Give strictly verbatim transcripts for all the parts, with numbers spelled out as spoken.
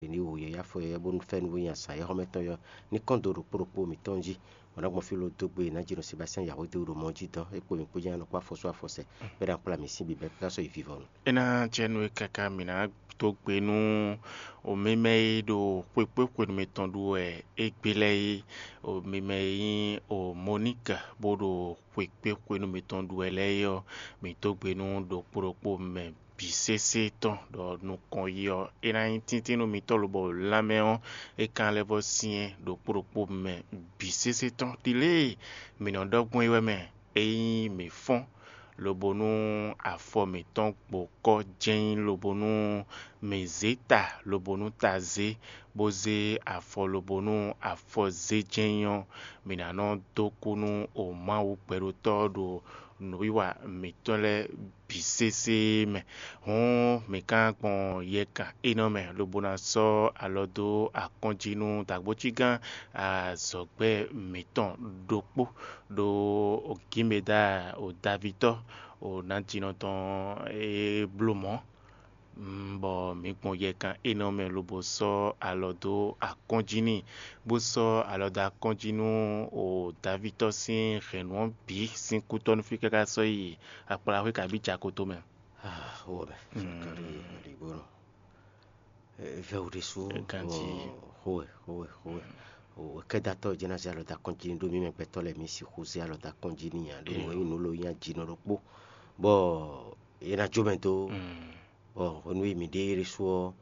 Ní wǔ yɛ yá fɔ yɛ bónú fɛ́nú bó nyi azǎn é xɔ́mɛ tɔn yɔ ní kɔn dó ɖokpó ɖokpó mǐtɔn jí. Bɔ ná gbɔn fí lo dó gbe ná jino Sebastian Yahweh dó ɖo mɔ jí dɔn é kpo mǐ kpó jɛ́n nɔ kpó afɔsú afɔsɛ bɛ ná kplá mǐ sín bǐbɛ́ ká sɔ́ yi vivɔnu. É ná jɛ nú é káká mǐ ná dó gbe nú mimɛ e ɖo xwekpéxwenu mitɔn ɖu wɛ égbé lɛ́ɛ é, mimɛ e nyí Moník bó ɖo xwekpéxwenu mitɔn ɖu wɛ lɛ́ɛ é ɔ́, mǐ dó gbe nú ɖokpó ɖokpó mɛ bǐ sésé tɔn ɖɔ nukɔn yi ɔ́, é ná nyí tíntín nú mitɔ́ lobɔ lanmɛ ɔ́, é ka lɛ́ vɔ́ syɛ́n ɖokpó ɖokpó mɛ bǐ sésé tɔn. Ɖi lě e mǐ nɔ ɖɔ gbɔn é wɛ mɛ, ényí mǐ fɔ́n, lobo nú afɔ mǐtɔn gbo kɔ́ jɛ́n nyí, lobo nú mǐ zě ta, lobo nú ta zé, bó zé afɔ, lobo nú afɔ zé jɛ́n nyí ɔ́, mǐ ná nɔ dó kú nú Mawu gbɛɖótɔ́ ɖo nǔwiwa mǐtɔn lɛ́ɛ bǐ sésé mɛ. Hǔn mǐ ka gbɔn yɛkan énɛ́ mɛ, lobo ná sɔ́ alɔ dó akɔ́njí nú dǎgbócígán azɔ̌gbɛ́ mǐtɔn ɖokpó ɖo Gímeda, o Davitɔ́, o nǎjínɔ tɔn e bló mɔ̌, bɔ mǐ gbɔn yɛkan énɛ́ mɛ lobo sɔ́ alɔ dó akɔ́njí n'i, bó sɔ́ alɔ dó akɔ́njí nú o Davitɔ́ sín hɛ̌nnu ɔ́ bǐ sín kútɔ́ nú fí káká sɔ́ yi akplaxwé kabí jako tomɛ. Xó ɔ́ mɛ, Zakalíi aligbónɔ, vɛ́ wǔ ɖésú, xówɛ xówɛ xówɛ, kɛ́datɔ́ jɛ́n ná zé alɔ dó akɔ́njí n'i ɖó mǐ mɛ gbɛtɔ́ lɛ́ɛ mǐ sixú zé alɔ dó akɔ́njí n'i ǎ, ɖó mɔ̌ nyí nǔ lɔ nyí ajinɔ ɖokpó, bɔ é ná jó mɛ dó. Bɔ hwenu e mǐ ɖe ɖésú ɔ́,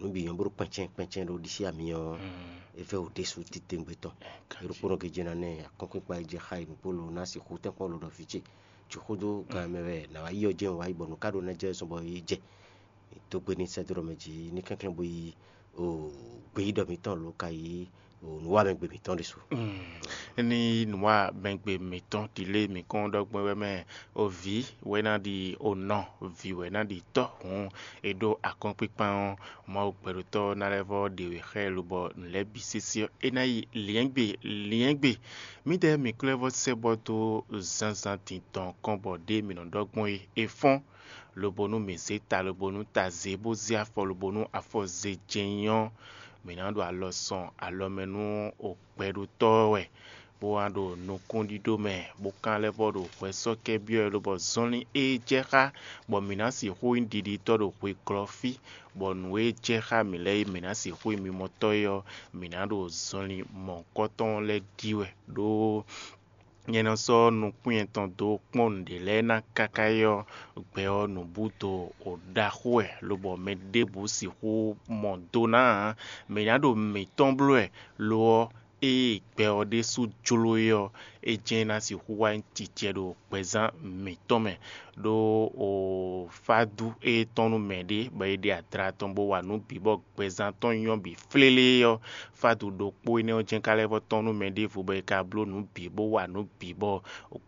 nǔ bǐ nyɔ́ bó ɖo kpɛncɛ́n kpɛncɛ́n ɖo ɖisí ami ɔ́, é vɛ́ wǔ ɖésú titewungbe tɔn. É ɖokpónɔ gěgé ná nɛ akɔ́nkpinkpan e jɛ xa yi nǔgbó lo ná sixú tɛ́nkpɔ́n lo ɖɔ vǐ ce. Jǐxódó gan mɛ wɛ nǎ wá yi ɔ́ jɛ́n wǎ yi bɔ nǔ ka ɖo ná jɛ zɔn bɔ é jɛ. Dó gbe n'i sɛ́dó ɖɔ mɛ jí ní kɛnklɛ́n bó yi gbeyíɖɔ mǐtɔn lo ka yi nǔwamɛgbe mǐtɔn ɖésú. Ní nǔwamɛgbe mǐtɔn ɖi lé mǐ kɔn ɖɔ gbɔn wɛ mɛ, o vǐ wɛ ná ɖi o nɔ, vǐ wɛ ná ɖi tɔ́ hǔn, è ɖó akɔ́nkpinkpan ɔ́, Mawu gbɛɖótɔ́ ná lɛ́ vɔ́ ɖe wě xá ɛ lobɔ nǔ lɛ́ɛ bǐ sésé ɔ́, é ná yi lyɛ̌ngbe lyɛ̌ngbe. Mǐdɛɛ mǐ klɛ́ vɔ́ sɛ́ bɔ dó zǎnzǎn din tɔn kɔn bɔ ɖěe mǐ nɔ ɖɔ gbɔn é, è fɔ́n, lobo nú mǐ zé ta lobo nú ta zé bó zé afɔ lobo nú afɔ zé jɛ́n nyí ɔ́, mǐ ná ɖo alɔ sɔn alɔ mɛ nú gbɛɖótɔ́ ɔ́ wɛ, bó wá ɖo nukúnɖíɖó mɛ, bó ka lɛ́ vɔ́ ɖo hwɛ sɔ́ kɛ́ byɔ́ ɛ lobɔ zɔnlin e jɛ xá, bɔ mǐ ná sixú nyí ɖiɖitɔ́ ɖo hweglɔ́ fí, bɔ nǔ e jɛ xá mǐ lɛ́ɛ é mǐ ná sixú nyí mimɔtɔ́ é ɔ́, mǐ ná ɖo zɔnlin mɔ̌hunkɔtɔn lɛ́ɛ ɖi wɛ, ɖó nyɛ nɔ sɔ́ nukún nyɛtɔn dó kpɔ́n nǔɖé lɛ́ɛ ná káká yi ɔ́, gbɛ ɔ́ nǔbúdo ɖaxó wɛ, lobɔ mɛ ɖěbǔ sixú mɔ do ná ǎ. Mǐ ná ɖo mǐtɔn bló wɛ, lo ɔ́, ée gbɛ ɔ́ ɖésú jló é ɔ́, é jɛ́n ná sixú wá nyí jijɛ ɖo gbɛzán mǐtɔn mɛ, ɖó o fá dú é tɔn nú mɛɖé, bɔ é ɖe adra tɔn bó wa nǔ bǐ bɔ gbɛzán tɔn nyɔ́ bǐ flélé ɔ́, fádu ɖokpó énɛ́ ɔ́ jɛ́n ka lɛ́ vɔ́ tɔ́n nú mɛ ɖěvo bɔ è ka bló nǔ bǐ bó wa nǔ bǐ bɔ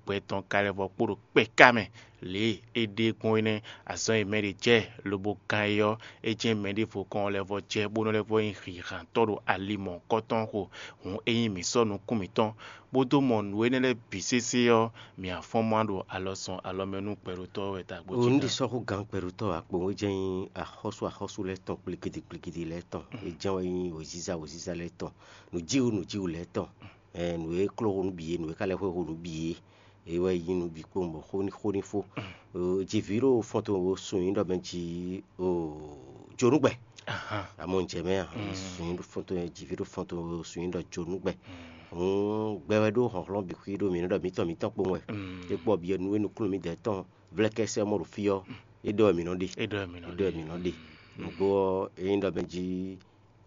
gbɛ tɔn ka lɛ́ vɔ́ kpo ɖo kpɛká mɛ. Lě e é ɖe gbɔn é nɛ́, azɔn e mɛ ɖě jɛ lobo gán é ɔ́, é jɛ́n mɛ ɖěvo kɔn lɛ́ vɔ́ jɛ bó nɔ́ lɛ́ vɔ́ nyí hǐnhǎntɔ́ ɖo ali mɔ̌hunkɔtɔn xo. Hǔn ényí mǐ sɔ́ nukún mǐtɔn, bó dó mɔ nǔ énɛ́ lɛ́ɛ bǐ sésé ɔ́, mǐ afɔ́n má ɖo alɔ sɔn alɔ mɛ nú gbɛɖótɔ́ wɛ ta gbɔjɛ́. Nǔ ɖé sɔ́ xó gǎn gbɛɖótɔ́ akpowun é jɛ́n nyí axɔ́sú axɔ́sú lɛ́ɛ tɔn kplikidi kplikidi lɛ́ɛ tɔn, é jɛ́n wɛ nyí wěziza wěziza lɛ́ɛ tɔn, nǔjíwǔ nǔjíwǔ lɛ́ɛ tɔn, nǔ e kló xó nǔ bǐ é, nǔ e ka lɛ́ xwé xó nǔ bǐ é, é wɛ nyí nǔ bǐ kpowun bɔ xó ní xó ní fó. Jivǐ ɖo fɔ́n tɔn sun nyí ɖɔ mɛ jí jonúgbɛ. Amɔ un jɛ mɛ a? Sun nyí ɖo fɔ́n tɔn, jivǐ ɖo fɔ́n tɔn sun nyí ɖɔ jonúgbɛ. Hǔn gbɛ wɛ ɖó hlɔ̌nhlɔ́n bǐ xwí ɖó mǐ nɔ ɖɔ mǐtɔn mǐtɔn kpowun wɛ. É kpɔ bǐ nú e nukúnnú mǐdɛɛ tɔn vlɛ́kɛ́sɛ́ mɔ ɖo fí ɔ́, é ɖɔ wɛ mǐ nɔ ɖe. É ɖɔ wɛ mǐ nɔ ɖe. Nǔgbó ɔ́, é nyí ɖɔ mɛ jí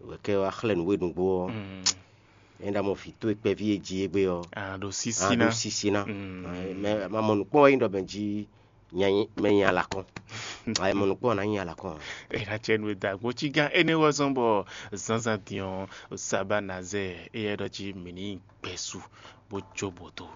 wɛ kɛ wá xlɛ́ nǔ we nǔgbó ɔ́, é ná mɔ vǐ towe kpɛví e jí égbé ɔ́, a ɖo sísí ná. Sísí ná. Mɛ ma mɔ nǔkpɔ́n wɛ nyí ɖɔ mɛ jí mɛ nyi alakɔn. Ayɛ mɔ nǔkpɔ́n ná nyi alakɔn. È nǎ cɛ nú e da gbo cí gán énɛ́ wɛ zɔ́n bɔ zǎnzǎn din ɔ́, Sabá ná zɛ éyɛ́ ɖɔ jí mǐ ní gbɛ́ su bó jó bǒ dó.